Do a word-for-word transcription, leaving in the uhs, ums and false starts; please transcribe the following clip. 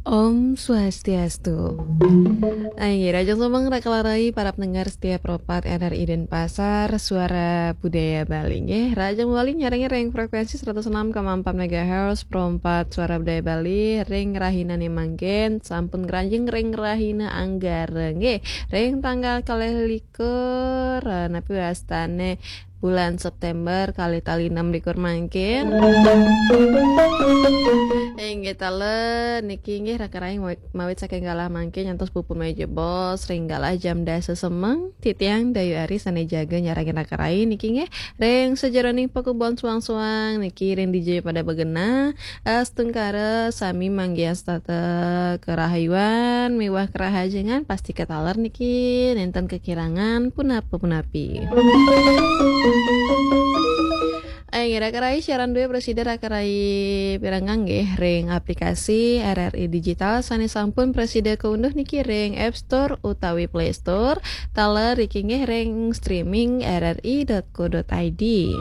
Om Swastiastu. Ayo, rahajeng semeng raka rai para pendengar setia Pro empat R R I Denpasar, Suara Budaya Bali nggih. Rahajeng malih nyarengin ring frekuensi seratus enam koma empat megahertz Pro empat Suara Budaya Bali ring rahinane mangkin, sampun ngranjing ring rahina Anggara nggih. Ring tanggal kalih likur, eh, napi wastane bulan September kalih tali enam likur mangkin. Inggih taler niki nggih raka rai mawit, mawit saking galah mangkin nyantos pupun meja bos ring galah jam dasa semeng, titiang Dayu Ari sane jaga nyarengin raka rai niki nggih ring sajeroning pakubon suang-suang niki ring D J pada begenah, astungkara sami manggihin setata kerahayuan miwah kerahajengan pasti kataler niki nenten kekirangan punapa-punapi. Ayo, raka rai siaran due prasida raka rai pirengang nggih ring aplikasi R R I Digital sane sampun prasida kaunduh niki ring App Store utawi Play Store, taler niki nggih ring streaming R R I dot co dot I D.